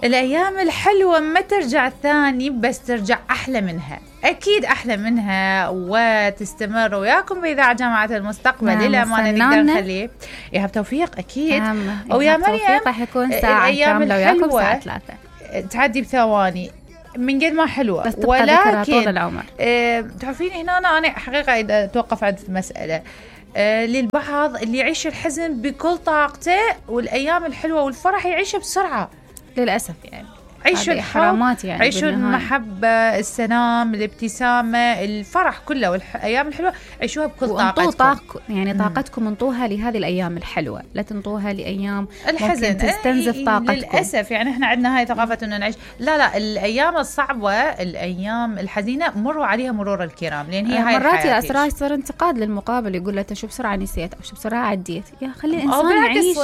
الأيام الحلوة ما ترجع ثاني، بس ترجع أحلى منها، أكيد أحلى منها، وتستمر وياكم بإذاعة جامعة المستقبل للأمانة. نقدر نخليه يا بتوفيق أكيد. ويا مريم راح يكون ساعة كاملة وياكم ساعة 3 تعدي بثواني من قد ما حلوة، بس تبقى ذكرى طول العمر. تعرفين هنا أنا حقيقة إذا توقف عند مسألة للبعض اللي يعيش الحزن بكل طاقته والأيام الحلوة والفرح يعيشه بسرعة للأسف. يعني عيشوا حرامات، يعني عيشوا المحبة، السلام، الابتسامة، الفرح كله والأيام الحلوة عيشوها بكل طاقتكم. يعني طاقتكم انطوها لهذه الأيام الحلوة، لا تنطوها لأيام الحزن ممكن تستنزف طاقتكم. للأسف يعني احنا عندنا هاي ثقافة انه نعيش لا الأيام الصعبة، الأيام الحزينة مروا عليها مرور الكرام، لأن هي هاي مرات يا أسرار يصير انتقاد للمقابل، يقول له شو بسرعة نسيت أو شو بسرعة عديت. يا خلي الإنسان يعيش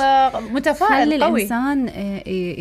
متفائل، خلي الإنسان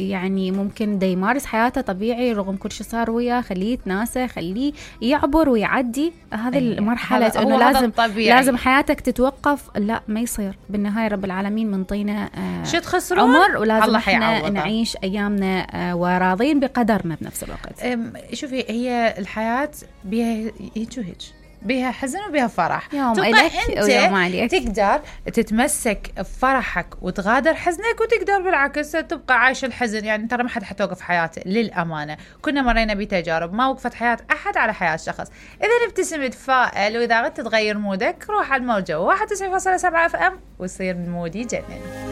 يعني ممكن دا يمارس حياته طبيعي رغم كل شيء صار وياه، خليه يتناسى، خليه يعبر ويعدي هذه المرحلة. انه لازم حياتك تتوقف، لا ما يصير. بالنهاية رب العالمين منطينا شو تخسرون عمر، ولازم احنا نعيش ايامنا وراضين بقدرنا بنفس الوقت. شوفي هي الحياة بها هيك بها حزن وبها فرح، يوم إلك ويوم عليك. تقدر تتمسك بفرحك وتغادر حزنك، وتقدر بالعكس تبقى عايش الحزن. يعني ترى ما حد حتوقف حياته للأمانة، كنا مرينا بتجارب ما وقفت حياة أحد على حياة شخص. إذا نبتسم تفائل، وإذا غدت تغير مودك روح على الموجة 91.7 FM ويصير المود يجنن.